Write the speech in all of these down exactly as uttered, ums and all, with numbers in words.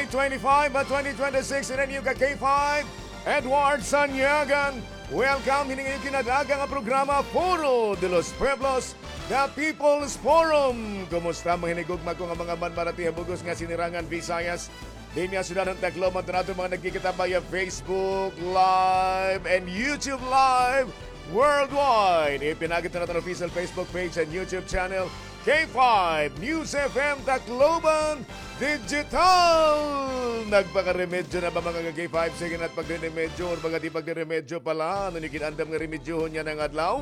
twenty-five at twenty twenty-six in a new ka K five. Edward Sanyagan, welcome. Hining iyo kinadaga nga programa, Foro de los Pueblos, The People's Forum. Kumusta, mga hinigugma ko nga mga manmarati ha bug-os nga sinirangan Visayas? Dinhi ha syudad han Tacloban, tanan aton mga nagkikita via Facebook Live and YouTube Live worldwide. Ipinagi naton an official Facebook page and YouTube channel, K five News F M Tacloban Digital. Nagpakaremedyo na ba, mga ka-K five? Sige na it pagriremedyo, or baga di pagriremedyo pala. Ano niyo gin-andam nga remedyohon yana nga adlaw?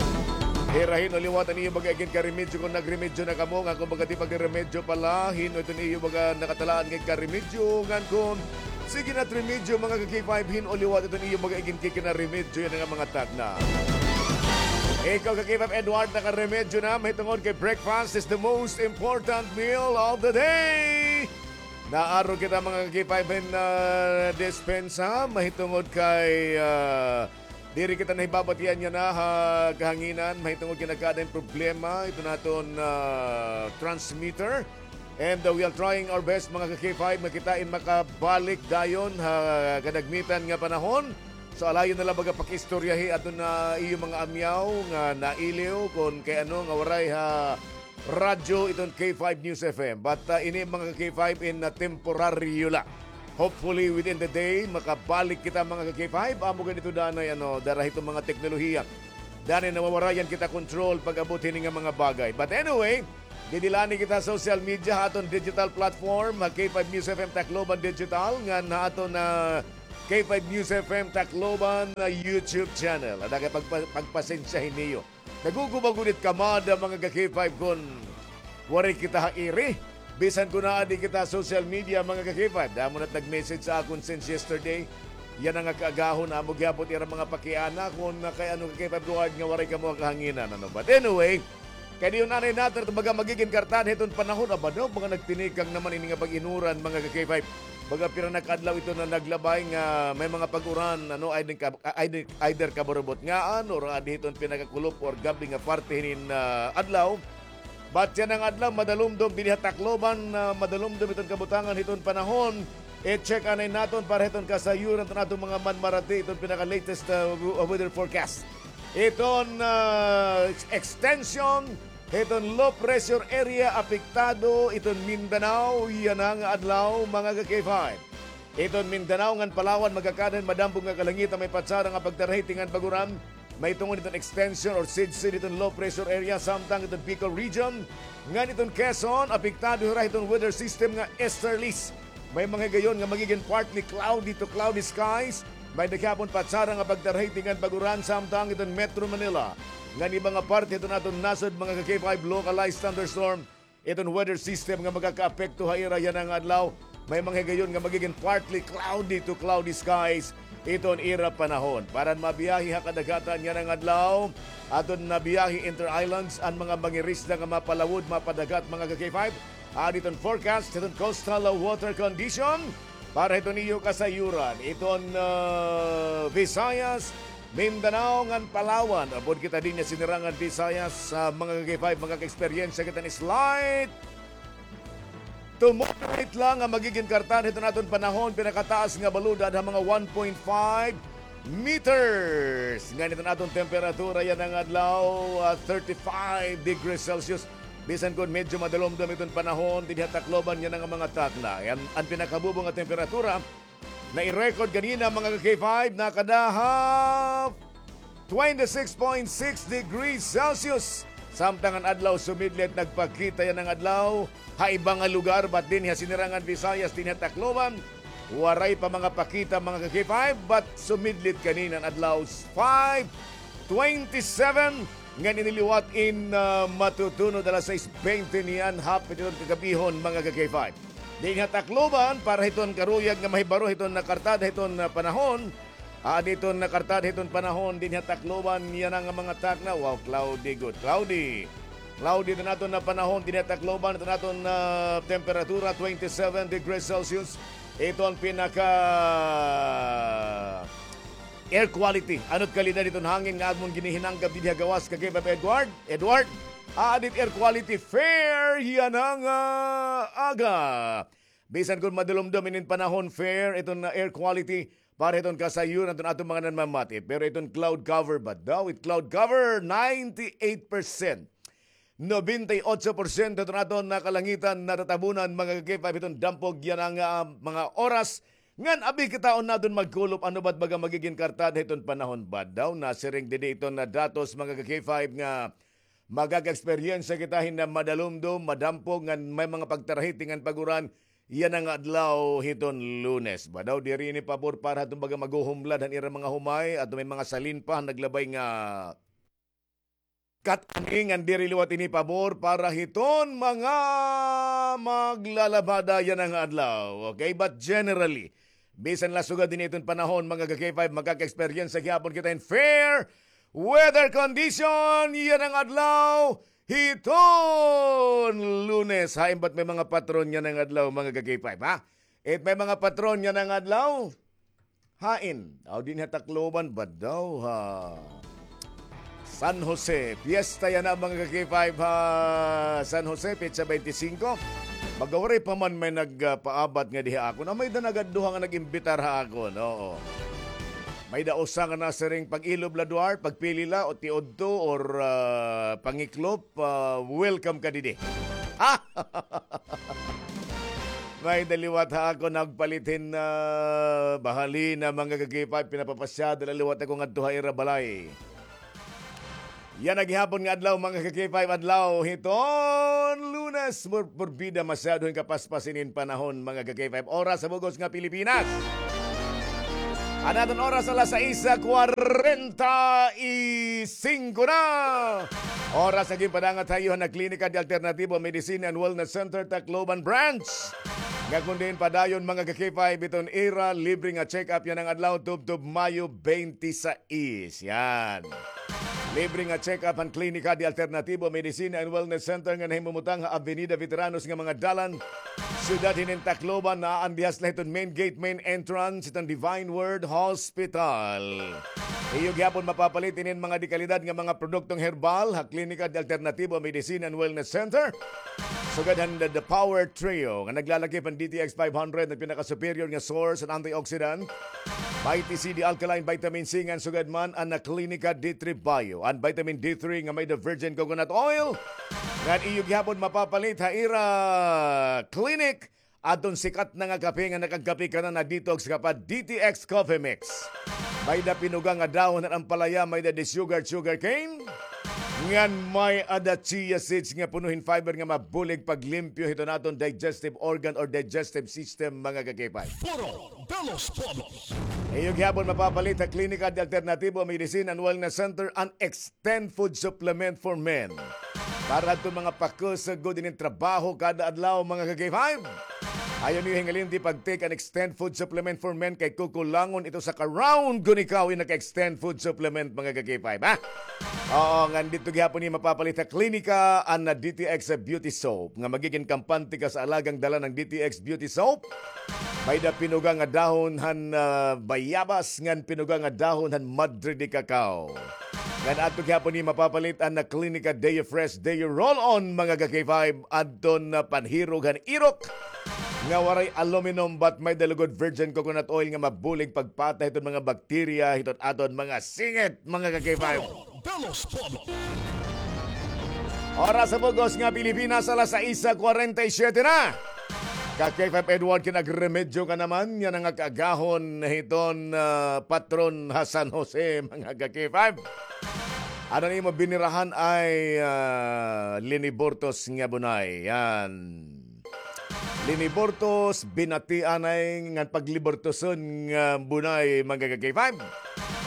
Hira, hin-o liwat an iyo baga iginkaremedyo kon nagremedyo na kamo, ngan kon baga di pagriremedyo pala, hin-o iton iyo baga nakatalaan nga ikaremedyo, ngan kon sige na it remedyo, mga ka-K five, hin-o liwat iton iyo baga iginkikinaremedyo yana nga mga takna. Ikaw, ka-K five Edward, nakaremedyo na, mahitungod kay breakfast is the most important meal of the day. Naaro kita, mga ka-K five, hin, ah, dispensa, mahitungod kay, ah, diri kita nahibabatian yana ha kahanginan, mahitungod kay nagkaada hin problema iton aton, ah, transmitter. And, uh, we are trying our best, mga ka-K five, nga kita in makabalik dayon ha kadagmitan nga panahon. So, alayon na la baga pakiistoryahi aton, ah, iyo mga amyaw nga nailiw kon kay ano nga waray ha radyo iton K five News F M. But, uh, ini, mga ka-K five, in, uh, temporaryo la. Hopefully, within the day, makabalik kita, mga ka-K five. Amo gani ito danay, ano, dara hiton mga teknolohiya. Danay nawawarayan kita kontrol pag-abot hini nga mga bagay. But anyway, didilani kita social media ha aton digital platform, ha K five News F M Tacloban Digital, ngan ha aton, ah, K five News F M Tacloban, ah, YouTube channel. Ada kay pagpa-, pagpasensyahi niyo. Naguguba gud it kamada, mga ka-K five, kon waray kita ha iri. Bisan kon aadi kita ha social media, mga ka-K five. Damo na it nag-message sa akon since yesterday. Yana nga kaagahon, amo gihapon ira mga pakiana kon kay ano, ka-K five Edward, nga waray kamo ha kahanginan, ano. But anyway, kay diyon anay nater, baga magigin kartan hiton panahon, aba daw, mga nagtinikang naman ini nga pag-inuran, mga ka-K five. Baga pira na ka adlaw ito na naglabay nga may mga pag-uran, ano, ay din ka-, ay din, either kaburubot ngaan or adi hiton pinakakulop or gab-i nga parte hinin, ah, adlaw. But yana nga adlaw, madalumdom dinhi ha Tacloban, ah, madalumdom iton kabutangan hiton panahon. I-check anay naton para hiton kasayuran iton aton mga manmarati iton pinaka-latest, ah, w-, weather forecast. Iton, ah, ex-, extension hiton low pressure area apektado iton Mindanao yana nga adlaw, mga ka-K five. Iton Mindanao ngan Palawan magakaada hin madambog nga kalangitan, may patsara nga pagdarahiti ngan pag-uran. Mahitungod hiton extension or sidsid hiton low pressure area, samtang iton Bicol region ngan iton Quezon, apektado hira hiton weather system nga easterlies. May mga higayon nga magigin partly cloudy to cloudy skies. May-ada gihapon patsara nga pagdarahiti ngan pag-uran samtang iton Metro Manila ngan iba nga parte hiton aton nasod, mga ka-K five, localized thunderstorm iton weather system nga magakaapekto ha ira yana nga adlaw. May mga higayon nga magigin partly cloudy to cloudy skies iton ira panahon. Para han mabiyahe ha kadagatan yana nga adlaw, aton nabiyahe inter-islands an mga mangirisda nga mapalawod, mapadagat, mga ka-K five. Aadi iton forecast hiton coastal water condition para hiton iyo kasayuran iton, ah, Visayas, Mindanao ngan Palawan. Upod kita dinhi ha sinirangan Visayas, sa mga ka-K five, makaka-eksperyensya kita hin slight to moderate la nga magigin kartan hiton aton panahon, pinakataas nga balod aada ha mga one point five meters. Ngan iton aton temperatura yana nga adlaw, ah, thirty-five degrees Celsius. Bisan kon medyo madalumdom iton panahon dinhi ha Tacloban yana nga mga takna. An, an pinakabubo nga temperatura na i-record ganina, mga ka-K five, nakada ha twenty-six point six degrees Celsius. Samtang an adlaw sumidlit, nagpakita yana nga adlaw ha iba nga lugar, but dinhi ha sinirangan Visayas, dinhi ha Tacloban, waray pa mga pakita, mga ka-K five, but sumidlit ganina an adlaw, five twenty-seven, ngan ini liwat in, ah, matutunod alas sais bente niyan, hapit iton kagab-ihon, mga ka-K five. Dinhi ha Tacloban, para hiton karuyag nga mahibaro hiton nakartada hiton, ah, panahon. Aadi iton nakartada hiton panahon dinhi ha Tacloban, yana nga mga takna. Wow, cloudy gud, cloudy. Cloudy iton aton nga panahon dinhi ha Tacloban, iton aton, ah, temperatura, twenty-seven degrees Celsius. Iton pinaka air quality. Ano it kalidad hiton hangin nga amon ginihinanggap dinhi ha gawas, ka-K five Edward? Edward, aadi it air quality fair yana nga aga. Bisan kon madulumdom inin panahon, fair iton, ah, air quality para hiton kasayon aton, aton mga nanmamati. Pero iton cloud cover ba daw? It cloud cover, ninety-eight percent. Nobenta y otso porsyento iton aton nga kalangitan natatabunan, mga ka-K five, hiton dampog yana nga, ah, mga oras. Ngan abi kitaon naton magkulop, ano ba't baga magigin kartada hiton panahon ba daw? Nasiring didi iton nga datos, mga ka-K five, nga magaka-eksperyensya kita hin madalumdom, madampog, ngan may mga pagtarahiti ngan pag-uran yana nga adlaw hiton Lunes. Ba daw, diri ini pabor para hiton baga maghuhumlad han ira mga humay, ato may mga salin pa han naglabay nga kat-ani, ngan diri liwat ini pabor para hiton mga maglalabada yana nga adlaw. Okay, but generally, bisan la sugad ini iton panahon, mga ka-K five, magaka-eksperyensya gihapon kita hin fair weather condition yana nga adlaw hiton Lunes. Hain ba't may mga patron yana nga adlaw, mga ka-K five, ha? It may mga patron yana nga adlaw? Hain? Aw, dinhi ha Tacloban ba daw, ha San Jose. Piyesta yana, mga ka-K five, ha San Jose, petsa twenty-five. Baga waray pa man may nagpaabat ngadi ha akon. Ah, may-ada nagad duha nga nag-imbitar ha akon, oo. May-ada usa nga nasiring pag-ilob la, Duarte, pagpili la, o tiudto, or, ah, pangiklop, ah, welcome ka didi. Ha? May-ada liwat ha akon nagpalit hin, ah, bahalina, mga ka-K five, pinapapasyada la liwat ako ngadto ha ira balay. Yana gihapon nga adlaw, mga ka-K five, adlaw hiton Lunes, pur-, purbida masyado hin kapaspas inin panahon, mga ka-K five. Oras ha bug-os nga Pilipinas. An aton oras, alas sais kwarenta y singko na. Oras nga ginpadangat ha iyo han Klinika de Alternativo Medicine and Wellness Center, Tacloban Branch, nga kon diin padayon, mga ka-K five, iton ira libre nga check-up yana nga adlaw, tubtob Mayo twenty-six. Yan. Libre nga check-up han Klinika de Alternativo Medicine and Wellness Center nga nahimumutang ha Avenida Veteranos nga mga dalan, syudad hinin Tacloban, naa an dihas la hiton main gate, main entrance hiton Divine Word Hospital. Iyo gihapon mapapalit inin mga dekalidad nga mga produktong herbal ha Klinika de Alternativo Medicine and Wellness Center. Sugad han The, The Power Trio nga naglalakip han D T X five hundred, nga pinaka-superior nga source han antioxidant, Vitamin C, the alkaline vitamin C, ngan sugad man an Klinika D three Bio, an vitamin D three nga may-ada virgin coconut oil. Ngan iyo gihapon mapapalit ha ira clinic adton sikat na nga kape nga nakagkape ka na, na-detox ka pa, D T X Coffee Mix. May-ada pinuga nga dahon han ampalaya, may-ada disugared sugar cane, ngan may-ada chia seeds nga puno hin fiber nga mabulig paglimpyo hiton aton digestive organ or digestive system, mga ka-K five. Foro de los Pueblos. Iyo gihapon mapapalit ha Klinika de Alternativo Medicine and Wellness Center an Extend Food Supplement for Men. Para adton mga pakusog gud inin trabaho kada adlaw, mga ka-K five, ayaw niyo hingalimti pag-take an Extend Food Supplement for Men kay kukulangon ito sa ka-round kon ikaw in naka-Extend Food Supplement, mga ka-K five, ha? Oo, ngan didto gihapon niyo mapapalit ha klinika an D T X Beauty Soap nga magigin kampante ka sa alagang dala ng D T X Beauty Soap. May-ada pinuga nga dahon han, ah, bayabas ngan pinuga nga dahon han madre de cacao. Ngan adto gihapon ni mapapalit an Klinika Deo Fresh Deo Roll-On, mga ka-K five, adton, ah, panhirog han irok nga waray aluminum, but may-ada lugod virgin coconut oil nga mabulig pagpatay hiton mga bakterya hiton aton mga singit, mga ka-K five. Foro de los Pueblos. Oras ha bug-os nga Pilipinas, alas sais kwarenta y siyete na. Ka-K five Edward, kinagremedyo ka naman yana nga kaagahon hiton, ah, patron ha San Jose, mga ka-K five. Ano an imo binirahan ay, ah, liniburtos nga bunay? Yan. Liniburtos, binatian ay ngan pagliburtoson nga bunay, mga ka-K five.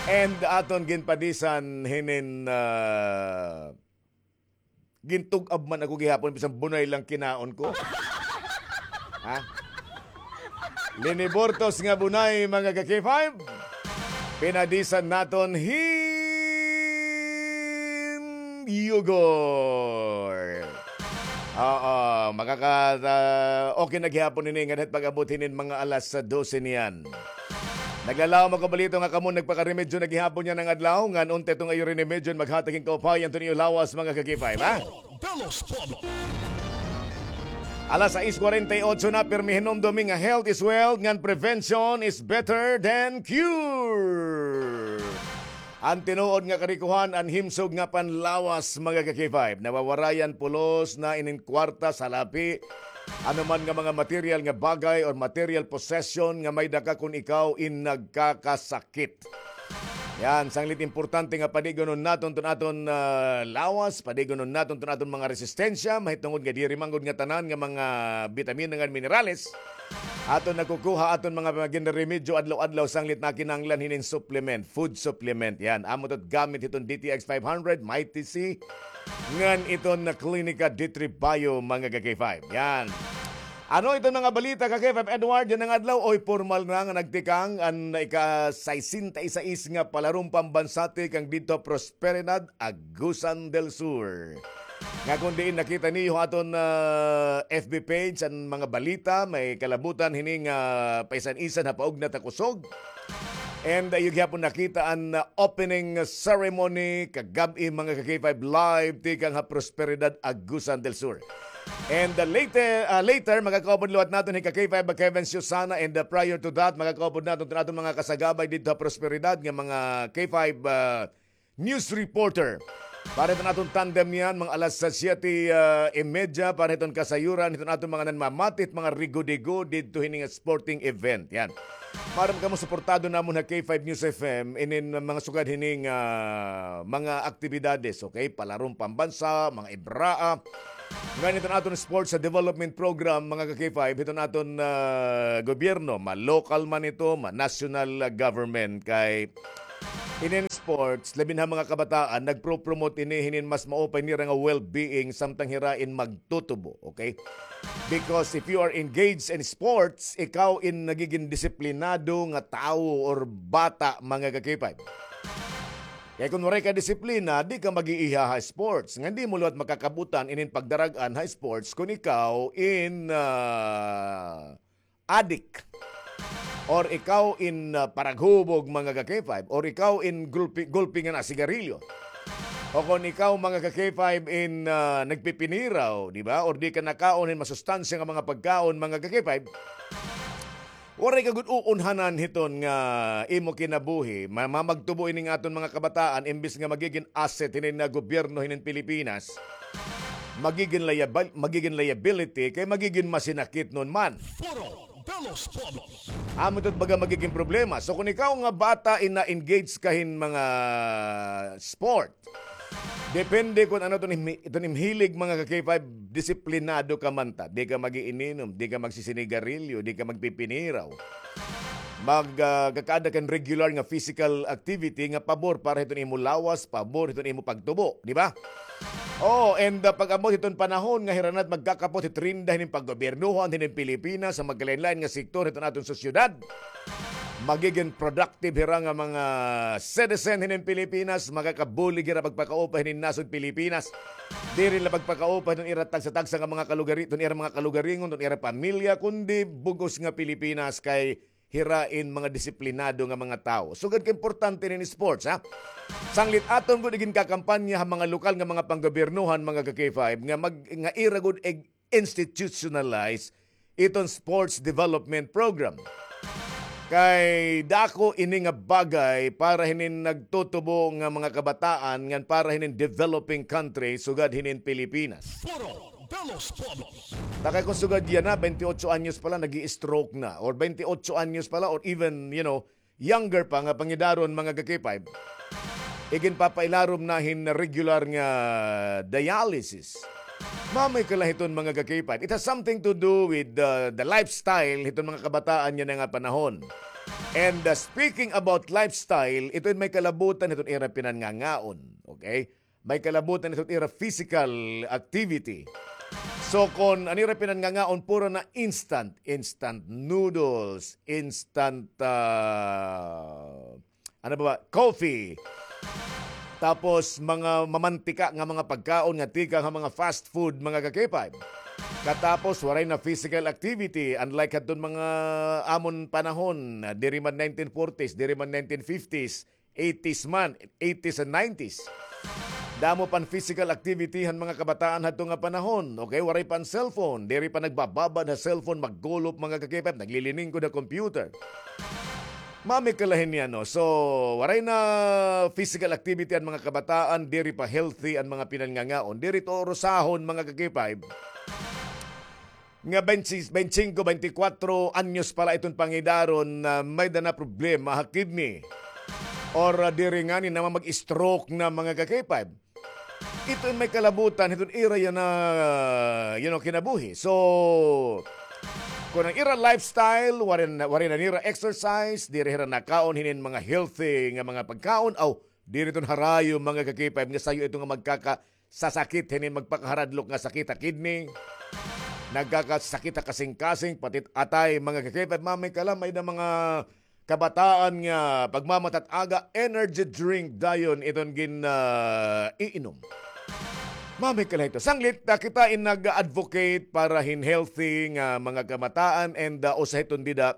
And aton ginpadisan hinin, ah, gintug-ab man ako gihapon, bisan bunay lang kinaon ko. Ha? Liniburtos nga bunay, mga ka-K five. Pinadisan naton hin yogurt. Oo, makaka-, ah, okay na gihapon ini ngadto pag-abot hinin mga alas dose niyan. Naglalawom ako balita nga kamo nagpakaremedyo na gihapon yana nga adlaw, ngan unta iton iyo remedyo maghatag hin kaupay hiton iyo lawas, mga ka-K five, ha? De los Pueblos. Alas sais kwarenta y ocho na, pirmi hinumdumi nga health is wealth, ngan prevention is better than cure. An tinuod nga karikohan, an himsog nga panlawas, mga ka-K five. Nawawarayan pulos na inin kwarta, salapi, ano man nga mga material nga bagay or material possession nga may-ada ka kon ikaw in nagkakasakit. Yan, sanglit importante nga padigunon naton ton aton, ah, lawas, padigunon naton ton aton mga resistensya, mahitungod nga diri man gud nga tanan nga mga bitamina ngan minerales aton nakukuha, aton mga ginremedyo adlaw-adlaw, sanglit nakinahanglan hinin supplement, food supplement. Yan, amo ito gamit hiton D T X five hundred, Mighty C, ngan iton na Clinica D three Bio, mga ka-K five. Yan. Ano iton mga balita, ka-K five Edward, yana nga adlaw? Oy, pormal na nga nagtikang an ika-sesenta y seis nga palarong pambansa tikang didto ha Prosperidad, Agusan del Sur. Nga kon diin nakita niyo ha aton, ah, F B page an mga balita, may kalabutan hini nga paisan-isan ha paugnat ha kusog. And, ah, iyo gihapon nakita an, ah, opening ceremony kagab-i, mga ka-K five, live tikang ha Prosperidad, Agusan del Sur. And, ah, later, ah, later, makakaupod liwat naton hi ka-K five Kevin Susana. And, ah, prior to that, makakaupod naton ton aton mga kasagabay didto ha Prosperidad nga mga K five, ah, news reporter. Para hiton aton tandem yan, mga alas siyete, ah, y media, para hiton kasayuran, hiton aton mga nanmamati, mga rigo-digo, didto hini nga sporting event. Yan. Maaram kamo suportado namon ha K five News F M, inin mga sugad hini nga mga aktibidades, okay? Palarong pambansa, mga ibraa. Ngan hiton aton sports sa development program, mga ka-K five, hiton aton, ah, gobyerno, ma-local man ito, ma-national, ah, government, kay inin sports, labi na ha mga kabataan, nagpro-promote ini hinin mas maupay nira nga well-being samtang hira in magtutubo, okay? Because if you are engaged in sports, ikaw in nagigin disiplinado nga tawo or bata, mga ka-K five. Kay kon waray ka disiplina, di ka mag-iiha ha sports. Ngan di mo liwat makakabutan inin pagdarag-an ha sports kon ikaw in, ah, adik. Or ikaw in, ah, paraghubog, mga ka-K five. Or ikaw in gulpi, gulpi nga nasigarilyo. O kon ikaw, mga ka-K five, in, ah, nagpipiniraw, di ba? Or di ka nakaon hin masustansya nga mga pagkaon, mga ka-K five. Waray ka gud uunhanan hiton nga imo kinabuhi. Ma-, mamagtubo ining aton mga kabataan, imbis nga magigin asset hinin nga gobyerno hinin Pilipinas, magigin liabil-, magigin liability, kay magigin masinakitnon man. Foro de los Pueblos. Amo ito baga magigin problema. So, kung ikaw nga bata, ina-engage ka hin mga sport, depende kon ano iton imi-, iton im hilig, mga ka-K five, disiplinado ka man ta. Di ka mag-iininom, di ka magsisinigarilyo, di ka magpipiniraw. Mag, ah, kakaada kan regular nga physical activity nga pabor para hiton imo lawas, pabor hiton imo pagtubo, di ba? Oh, and, ah, pag-abot hiton panahon nga hira na it magkakapot hit rinda hinin paggobyernohan hinin Pilipinas, sa magkalain-lain nga sektor hiton aton sosyedad. Magigin productive hira nga mga citizen hinin Pilipinas, makakabulig hira pagpakaupa hinin nasod Pilipinas. Diri la pagpakaupa hiton ira tagsa-tagsa nga mga kalugari, hiton ira mga kalugaringon, hiton ira pamilya, kundi bug-os nga Pilipinas kay hira in mga disiplinado nga mga tawo. Sugad ka importante nin sports, ha? Sanglit aton gud iginkakampanya ha mga lokal nga mga panggobyernohan, mga ka-K five, nga mag-, nga ira gud ig-, institutionalize iton sports development program. Kay dako ini nga bagay para hinin nagtutubo nga mga kabataan ngan para hinin developing country sugad hinin Pilipinas. Foro de los Pueblos. Ta kay kon sugad yana, twenty-eight anyos pa la, nag-i-stroke na. Or twenty-eight anyos pa la, or even, you know, younger pa nga pangidaron, mga ka-K five, iginpapailarom na hin regular nga dialysis. Mamay kala hiton, mga ka-K five. It has something to do with the, the lifestyle hiton mga kabataan yana nga panahon. And, uh, speaking about lifestyle, ito in may kalabutan hiton ira pinanngangaon. Okay? May kalabutan ito ira physical activity. So, kon an ira pinanngangaon puro na instant, instant noodles, instant, ah, ano ba ba? Coffee. Tapos, mga mamantika nga mga pagkaon nga tikang ha mga fast food, mga ka-K five. Katapos, waray na physical activity, unlike hadton mga amon panahon, diri man nineteen forties, diri man nineteen fifties, eighties man, eighties and nineties. Damo pan physical activity han mga kabataan hadto nga panahon. Okay, waray pan cellphone. Diri pa nagbababad ha cellphone, maggulop, mga ka-K five, naglilingkod ha computer. Mami kalahin niya, no? So, waray na physical activity an mga kabataan, diri pa healthy an mga pinangangaon, diri to urusahon, mga ka-K five. Nga twenty, twenty-five, twenty-four anyos pa la iton pangidaron na may-ada na problema ha kidney. Or, ah, diri ngani na mag-stroke na, mga ka-K five. Ito in may kalabutan, hiton ira yana, you know, kinabuhi. So, kon an ira lifestyle, waray na, waray na nira exercise, diri hira nakaon hinin mga healthy nga mga pagkaon, aw, diri ton harayo, mga ka-K five, nga sayo ito nga magkakasasakit hinin magpakaharadlok nga sakit ha kidney. Nagkakasakit ha kasingkasing, pati atay, mga ka-K five, Mami Kala, may-ada mga kabataan nga pagmamatat-aga, energy drink dayon iton gin, ah, iinom. Mami Kala, ito. Sanglit, ah, kita in nag-advocate para hin healthy nga mga kabataan and, ah, usa hiton dida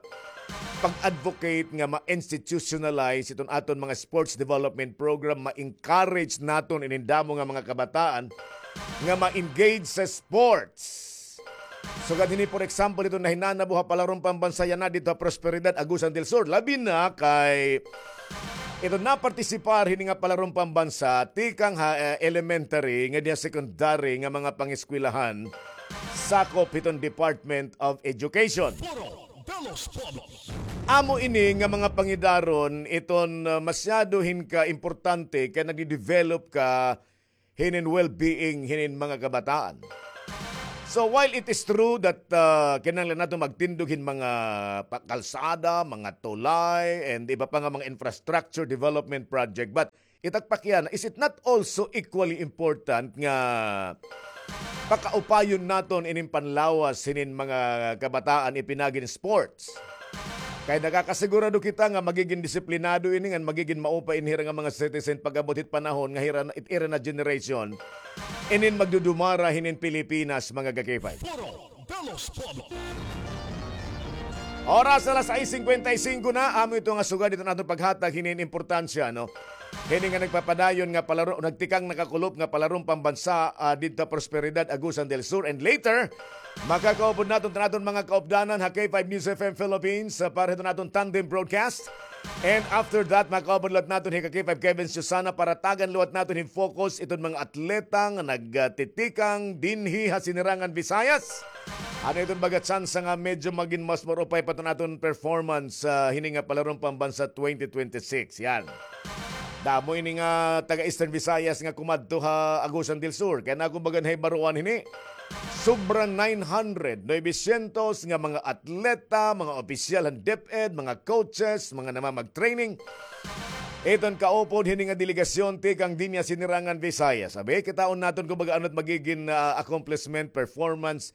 pag-advocate nga ma-institutionalize iton aton mga sports development program, ma-encourage naton inin damo nga mga kabataan nga ma-engage sa sports. Sugad hini, for example, iton nahinanabo ha Palaron Pambansa yana didto ha Prosperidad, Agusan del Sur. Labi na kay iton napartisipar hini nga Palaron Pambansa tikang ha, eh, elementary nga diha secondary nga mga pangeskwelahan sakop hiton Department of Education. Amo ini nga mga pangidaron iton, uh, masyado hin ka importante kay nagde-develop ka hinin well-being hinin mga kabataan. So, while it is true that, uh, kinahanglan naton magtindog hin mga pa-, kalsada, mga tulay, and iba pa nga mga infrastructure development project, but it ak pakiana, is it not also equally important nga pakaupayon naton inin panlawas hinin mga kabataan ipinaagi hin sports? Kay nakakasigurado kita nga magigin disiplinado ini ngan magigin maupay ini hira nga mga citizen pag-abot hit panahon nga hira na, it ira na generation inin magdudumara hinin Pilipinas, mga ka-K five. Oras alas sais singkwenta y singko na, amo ito nga sugad iton aton paghatag hinin importansya, no? Hini nga nagpapadayon nga palaro, nagtikang nakakulop nga Palaron Pambansa, ah, didto Prosperidad, Agusan del Sur. And later, makakaupod naton iton aton mga kaupdanan ha K five News F M Philippines, ah, para hiton aton tandem broadcast. And after that, makaupod liwat naton hi ka K five Kevin Susana para tagan liwat naton hin focus iton mga atleta nga nagtitikang dinhi ha Sinirangan Visayas. Ano iton baga tsansa nga medyo magin mas maupay pa iton aton performance, ah, hini nga Palaron Pambansa twenty twenty-six. Yan. Damo ini nga taga Eastern Visayas nga kumadto ha Agusan del Sur. Kay na, kumbaga, nahibaroan hini. Sobra nine hundred, novecientos nga mga atleta, mga opisyal han DepEd, mga coaches, mga namamag-training. Iton kaupod hini nga delegasyon tikang dinhi ha Sinirangan Visayas. Abi, kitaon naton, kumbaga, ano it magigin, ah, accomplishment, performance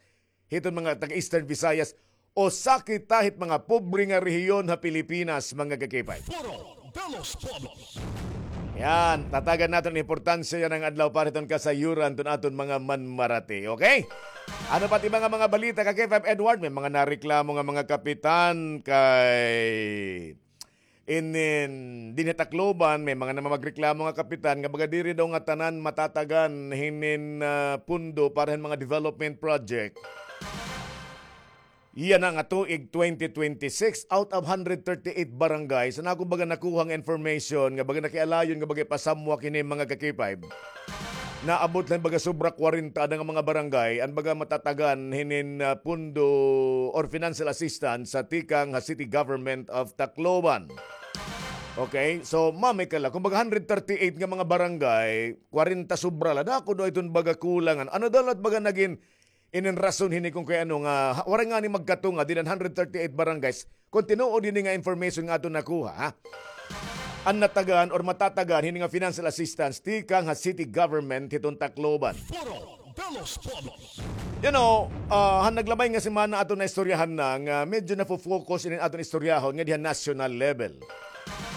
hiton mga taga Eastern Visayas, usa kita hit mga pobre nga rehiyon ha Pilipinas, mga ka-K five. Yan, tatagan naton importansya yana nga adlaw para hiton kasayuran hiton aton mga manmarati, okay? Ano pa it iba nga mga balita, ka-K five Edward? May mga nareklamo nga mga kapitan kay Inin, dinhi ha Tacloban, may mga namamagreklamo nga kapitan nga baga diri daw ngatanan matatagan hinin, ah, pundo para hin mga development project. Yana nga tuig twenty twenty-six, out of hundred thirty-eight barangays, an akon baga nakuha nga information nga baga nakialayon nga baga ipasamwak hini mga ka-K five. Naabot la hin baga sobra kwarenta ada nga mga barangay an baga matatagan hinin, ah, pundo or financial assistance sa tikang ha City Government of Tacloban. Okay? So, mamikal la. Kumbaga, hundred thirty-eight nga mga barangay, kwarenta sobra la. Dako daw iton baga kulang. Ano daw la it baga nagin inin rason hini kon kay ano nga, ha, waray ngani magkatunga dinhi han hundred thirty-eight barangays. Kon tinuod hini nga information nga aton nakuha, ha? An natagan or matatagan hini nga financial assistance tikang ha city government hiton Tacloban. You know, ah, han naglabay nga semana aton naistoryahan na nga medyo nafo-focus inin aton istoryahon nga dinhi ha national level.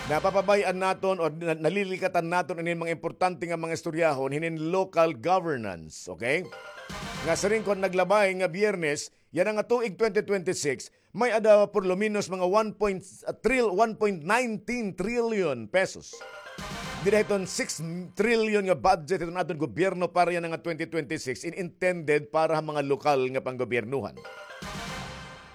Napapabay-an naton o na-, nalilikatan naton inin mga importante nga mga istoryahon hinin local governance, okay? Nga siring ko han naglabay nga Biyernes, yana nga tuig twenty twenty-six, may-ada por lo menos mga one point, ah, tril-, one point nineteen trillion pesos. dida hiton six trillion nga budget hiton aton gobyerno para yana nga twenty twenty-six in intended para ha mga lokal nga panggobyernohan.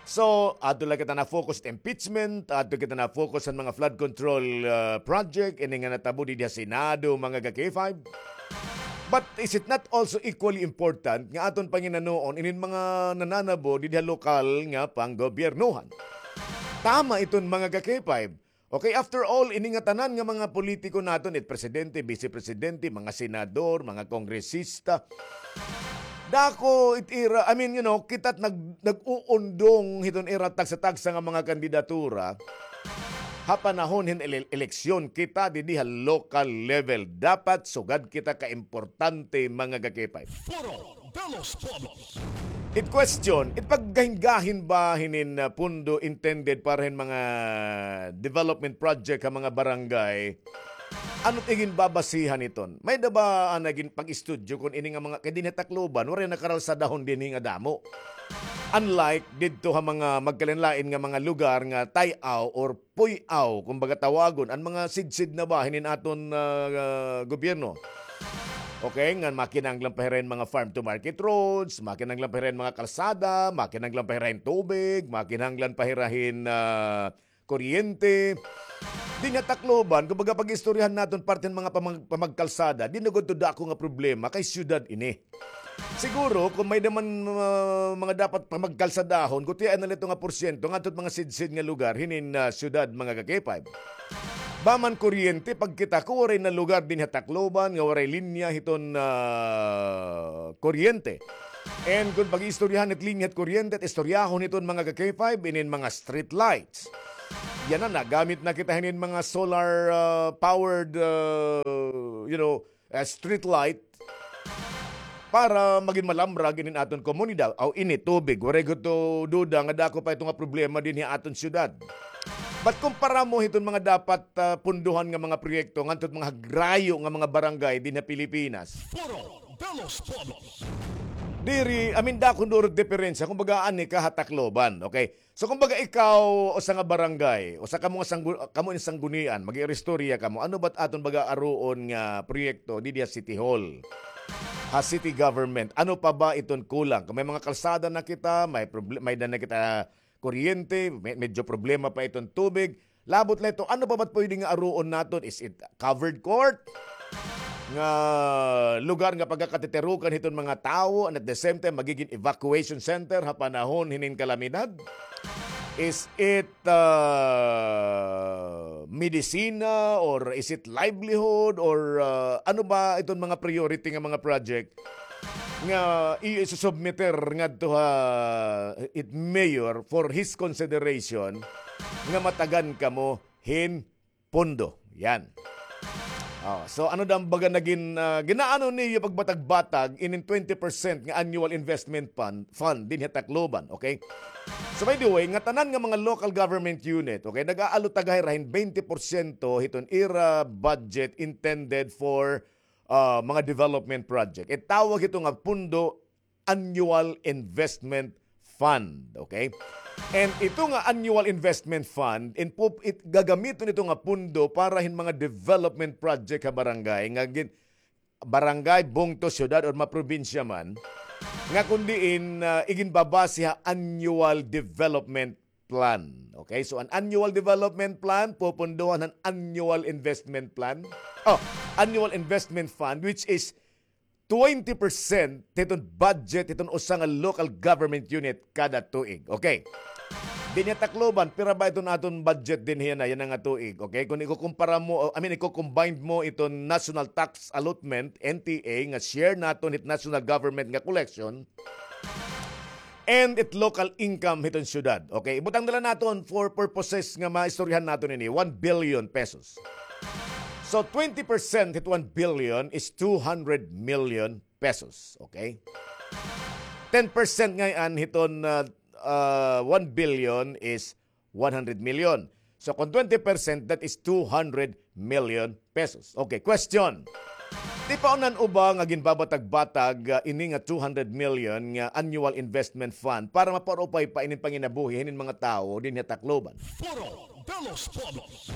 So, adto la kita na-focus sa impeachment, adto kita na-focus sa mga flood control, ah, project, ini nga natabo didi ha Senado, mga ka-K five. But is it not also equally important nga aton panginanuon inin mga nananabo didi ha lokal nga panggobyernohan? Tama iton, mga ka-K five. Okay, after all, ini nga tanan nga mga politiko naton, it presidente, vice presidente, mga senador, mga kongresista, dako it ira, I mean, you know, kita nag-, nag-uundong hiton ira tagsa-tagsa nga mga kandidatura. Ha panahon hin ele-, eleksyon, kita didi ha local level, dapat sugad kita ka importante, mga ka-K five. Foro de los Pueblos. It question, it paggahin-gahin ba hinin, ah, pundo intended para hin mga development project ha mga barangay? Ano it iginbabasihan hiton? May-ada ba, ah, nagin pag-estudyo kon ini nga mga, kay dinhi ha Tacloban, waray nakaralsadahon dinhi nga damo. Unlike didto ha mga magkalain-lain nga mga lugar nga tay-aw or puy-aw, kumbaga tawagon, an mga sidsid na ba hinin aton, ah, ah, gobyerno. Okay, ngan makinahanglan pa hira hin mga farm to market roads, makinahanglan pa hira hin mga kalsada, makinahanglan pa hira hin tubig, makinahanglan pa hira hin, ah, kuryente. Dinhi ha Tacloban, kumbaga pag-istoryahan naton parte hin mga pamag-, pamagkalsada, diri na gud ito dako nga problema kay syudad ini. Siguro, kon may-ada man, ah, mga dapat pamagkalsadahon, gutiay na la ito nga porsyento ngadto ha mga sidsid nga lugar hinin, ah, syudad, mga ka-K five. Ba man kuryente, pagkita ko, waray na lugar dinhi ha Tacloban nga waray linya hiton, ah, kuryente. And kon pag-iistoryahan it linya hit kuryente, it istoryahon hiton, mga ka-K five, inin mga street lights. Yana, nagamit na kita hinin mga solar, ah, powered, ah, you know, ah, street light para magin malamrag inin aton komunidad. Aw, ini, tubig. Waray gud ito duda nga dako pa ito nga problema dinhi ha aton syudad. But kumpara mo hiton mga dapat, ah, punduhan nga mga proyekto ngadto hit mga hagrayo nga mga barangay dinhi ha Pilipinas, Foro de los Pueblos. Diri, I mean, dako duro it diperensya. Kumbaga, ani ka ha Tacloban, okay? So, kumbaga, ikaw, usa nga barangay, usa kamo nga sanggu-, kamo ini sanggunian, mag-iristorya kamo, ano ba it aton baga aruon nga proyekto didi ha City Hall, ha city government? Ano pa ba iton kulang? Kon may mga kalsada na kita, may proble-, may-ada na kita kuryente, me-, medyo problema pa iton tubig. Labot la ito, ano pa ba it pwede nga aruon naton? Is it covered court nga lugar nga pagakatitirukan hiton mga tawo, and at the same time, magigin evacuation center ha panahon hinin kalamidad? Is it, ah, medisina, or is it livelihood, or, ah, ano ba iton mga priority nga mga project nga iyo isusubmiter ngadto ha it mayor for his consideration nga matagan kamo hin pondo. Yan. Oh, so ano daw an baga nagin, ah, ginaano niyo pagbatag-batag inin twenty percent nga annual investment fund, fund dinhi ha Tacloban, okay? So, by the way, ngatanan nga mga local government unit, okay, nag-aalo ta gahirahin twenty porsyento hiton ira budget intended for, ah, mga development project. Itawag ito nga pondo annual investment fund. Okay? And ito nga annual investment fund, in pup-, it, gagamiton ito nga pundo para hin mga development project ha barangay, nga gin-, barangay, bungto, syudad, or mga probinsya man, nga kun diin, ah, iginbabase ha annual development plan. Okay? So, an annual development plan, pupundohan han annual investment plan. Oh, annual investment fund, which is twenty percent hiton budget hiton usa nga local government unit kada tuig. Okay. Dinhi ha Tacloban, pira ba iton aton budget dinhi yana, yana nga tuig? Okay, kon ikukumpara mo, I mean, iko-combine mo iton national tax allotment, N T A, nga share naton hit national government nga collection, and it local income hiton syudad. Okay, ibutang na la naton for purposes nga maistoryahan naton ini, one billion pesos. So, twenty percent hit one billion is two hundred million pesos. Okay? Ten percent ngay-an hiton, ah, ah, one billion is one hundred million. So, kon twenty percent, that is two hundred million pesos. Okay, question. Tipaon-an uba nga ginbabatag-batag, ah, ini nga two hundred million nga annual investment fund para mapaurupay pa inin panginabuhi hinin mga tawo dinhi ha Tacloban? Foro de los Pueblos.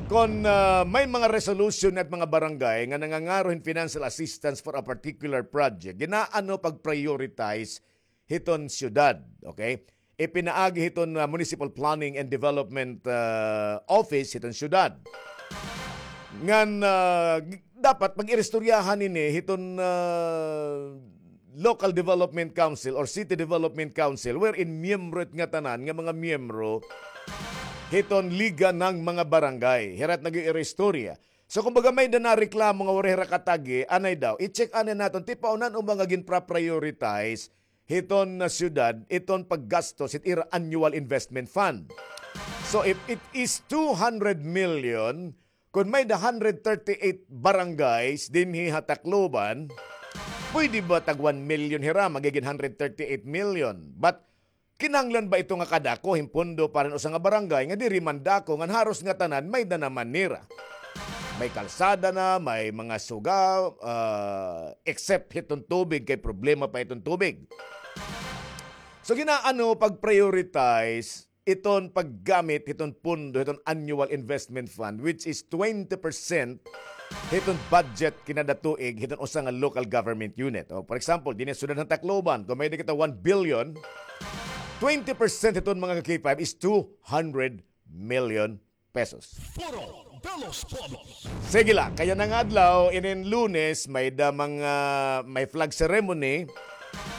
Kon, ah, may mga resolution it mga barangay nga nangangaro hin financial assistance for a particular project, ginaano pag-prioritize hiton syudad, okay? Ipinaagi hiton, ah, Municipal Planning and Development, ah, Office hiton syudad. Ngan, ah, g-, dapat pag-iristoryahan ini hiton, ah, Local Development Council or City Development Council, wherein miyembro it ngatanan nga mga miyembro hiton Liga ng mga Barangay. Hira it nag-iiristorya. So, kumbaga, may-ada nareklamo nga waray hira katagi, anay daw. I-check anay naton, tipaunan o mga ginpra-prioritize hiton, ah, syudad, iton paggastos hit ira annual investment fund. So, if it is two hundred million, kon may-ada hundred thirty-eight barangays dinhi ha Tacloban, pwede ba tag one million hira, magigin hundred thirty-eight million? But kinahanglan ba ito nga kadako hin pondo para hin usa nga barangay nga diri man dako, ngan haros ngatanan may-ada naman nira? May kalsada na, may mga suga, ah, except hiton tubig, kay problema pa iton tubig. So, ginaano pag-prioritize iton paggamit hiton pondo hiton annual investment fund, which is twenty percent hiton budget kinada tuig hiton usa nga local government unit. O, for example, dinhi ha syudad han Tacloban, kon may-ada kita one billion, twenty percent hiton, mga ka-K five, is two hundred million pesos. Foro de los Pueblos. Sige la, kay yana nga adlaw, inin Lunes, may-ada mga, may flag ceremony.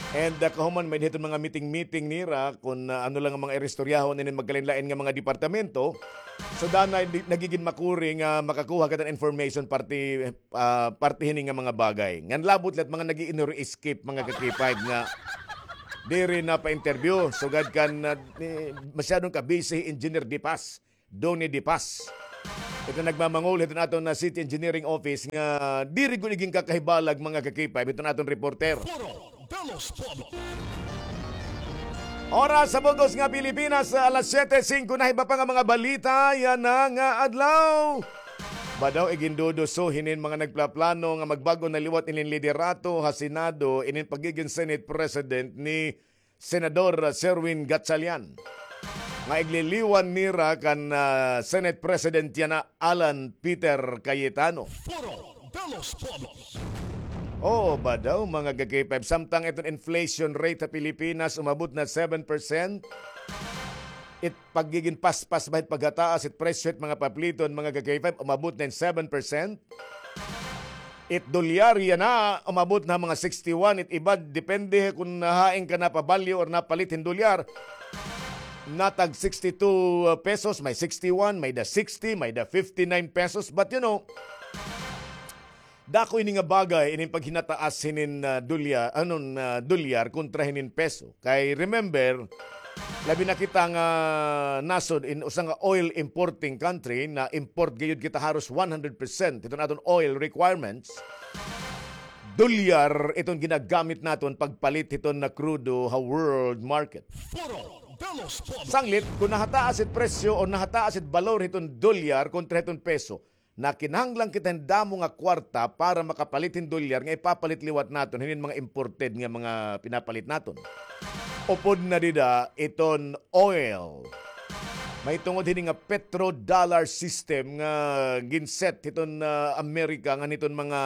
And, ah, kahuman may-ada hiton mga meeting-meeting nira kon, ah, ano la nga mga iristoryahon inin magkalain-lain nga mga departamento. So, danay di-, nagigin makuri nga makakuha kita hin information parte, ah, parte hini nga mga bagay. Ngan labot la it mga nag-iinuri escape, mga ka-K five, nga diri napa-interview. Sugad kan, ah, ni, masyadong ka-busy Engineer Dipas. Donny Dipas. Ito nagmamangol hiton aton na City Engineering Office nga diri gud iginkakahibalag, mga ka-K five, hiton aton reporter. Foro de los Pueblos. Oras sa bug-os nga Pilipinas, alas siyete singko na. Iba pa nga mga balita yana nga adlaw. Badaw iginduduso hinin mga nagplaplano nga magbag-o na liwat inin liderato ha Senado, inin pagigin Senate President ni Senador Sherwin Gatchalian, nga igliliwan nira kan, ah, Senate President yana, Alan Peter Cayetano. Foro de los Pueblos. Oo, badaw, mga ka-K five, samtang iton inflation rate ha Pilipinas umabot na seven percent, it pagigin paspas ba hit paghataas it presyo hit mga papliton, mga ka-K five, umabot na hin seven percent. It dolyar yana, umabot na mga sixty-one. It iba, depende kon hain ka napabalyo or napalit hin dolyar. Natag sixty-two pesos, may sixty-one, may-ada sixty, may-ada fifty-nine pesos. But, you know, dako ini nga bagay, inin paghinataas hinin, ah, dolya-, anon, ah, dolyar kontra hinin peso. Kay remember, labi na kita nga nasod in usa nga oil importing country, na-import gayud kita haros one hundred percent hiton aton oil requirements. Dolyar iton ginagamit naton pagpalit hiton na krudo ha world market. Foro de los Pueblos. Sanglit, kon nahataas it presyo o nahataas it balor hiton dolyar kontra hiton peso, na kinahanglan kita hin damo nga kwarta para makapalit hin dolyar nga ipapalit liwat naton hinin mga imported nga mga pinapalit naton. Upod na dida iton oil. Mahitungod hini nga petrodollar system nga ginset hiton, ah, Amerika ngan hiton mga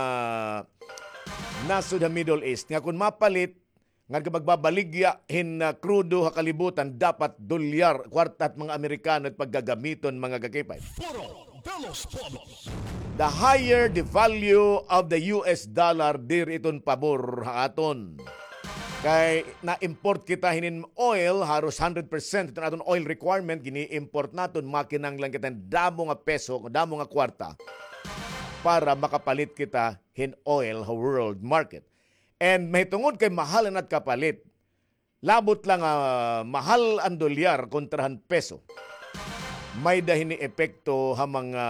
nasod ha Middle East nga kon mapalit, ngan kon magbabaligya hin, ah, krudo ha kalibutan, dapat dolyar, kwarta hit mga Amerikano it paggagamiton, mga ka-K five. Foro de los Pueblos. The higher the value of the U S dollar, diri iton pabor ha aton. Kay na-import kita hinin oil, haros hundred percent iton aton oil requirement, gini-import naton, makinahanglan kita hin damo nga peso, damo nga kwarta para makapalit kita hin oil ha world market. And mahitungod kay mahal an at kapalit, labot la nga mahal an dolyar kontra han peso, may-ada hini epekto ha mga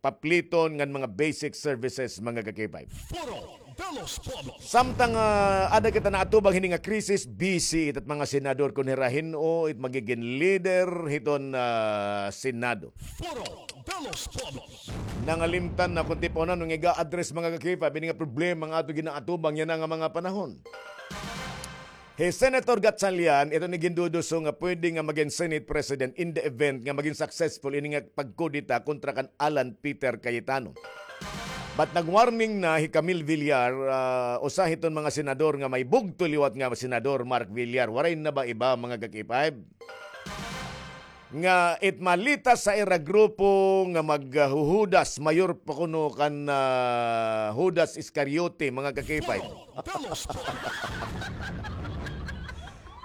papliton ngan mga basic services, mga ka-K five. Foro de los Pueblos. Samtang, ah, ada kita naatubang hini nga krisis, busy it at mga senador kon hira hin-o it magigin leader hiton, ah, Senado. Foro de los Pueblos. Nangalimtan na kon tipon na nga iga-address, mga ka-K five, ini nga problema nga ato ginaatubang yana nga mga panahon. Hi Senator Gatchalian, ito ni ginduduso nga pwede nga magin Senate President in the event nga magin successful ini nga pagkudeta kontra kan Alan Peter Cayetano. But nag-warning na hi Camille Villar, ah, usa hiton mga senador nga may bugto liwat nga senador, Mark Villar. Waray na ba iba, mga ka-K five? Nga it malita sa ira grupo nga maghuhudas, mayor pa kuno kan, ah, Judas Iscariote, mga ka-K five.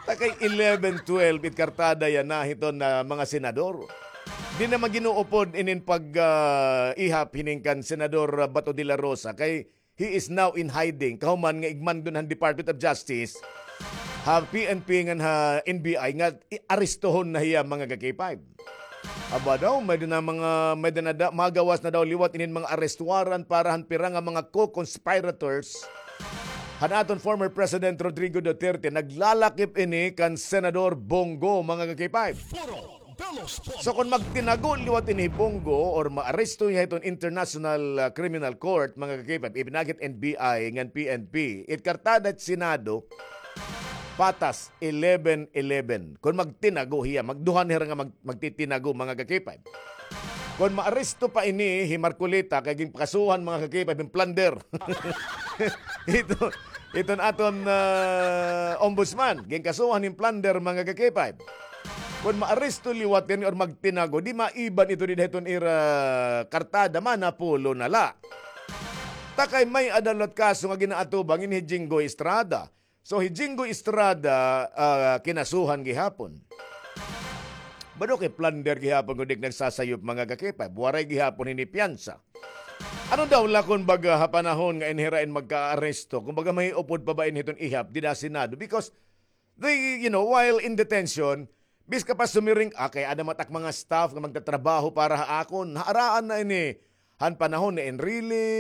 Ta kay eleven, twelve, it kartada yana hiton na mga senador. Di na maginuupod inin pag, ah, ihap hining kan Senador Bato de la Rosa kay he is now in hiding. Kahuman nga igmando na han Department of Justice, ha P N P ngan ha N B I nga i-, arestohon na hiya, mga ka-K five. Aba daw, may-ada na mga, may-ada na da-, magawas na daw liwat inin mga arrest warrant para han pira nga mga co-conspirators han aton former President Rodrigo Duterte. Naglalakip ini kan Senador Bong Go, mga ka-K five. So, kon magtinago liwat ini hi Bong Go or maaresto hiya hiton International, ah, Criminal Court, mga ka-K five, ipinakit N B I ngan P N P, it kartada it Senado, patas, eleven eleven. Kon magtinago hiya, magduha na hira nga mag-, magtitinago, mga ka-K five. Kon maaresto pa ini hi Marcoleta, kay ginpakasuhan, mga ka-K five, hin plunder. Ito, iton aton, ah, ombudsman, ginkasuhan hin plunder, mga ka-K five. Kon maaresto liwat ini or magtinago, di maiban ito dida hiton ira kartada, manapulo na la. Ta kay may-ada liwat kaso nga ginaatubang ini hi Jinggoy Estrada. So, hi Jinggoy Estrada, ah, kinasuhan gihapon. Bado kay plunder gihapon kun di nagsasayop, mga ka-K five. Waray gihapon hini piyansa. Ano daw la kon baga ha panahon nga ini hira in magkaaresto, kumbaga mahiupod pa ba ini hiton ihap dida ha Senado? Because they, you know, while in detention, biska pa sumiring, ah, kay ada man it ak mga staff nga magtatrabaho para ha akon. Naaraan na ini han panahon ni Enrile,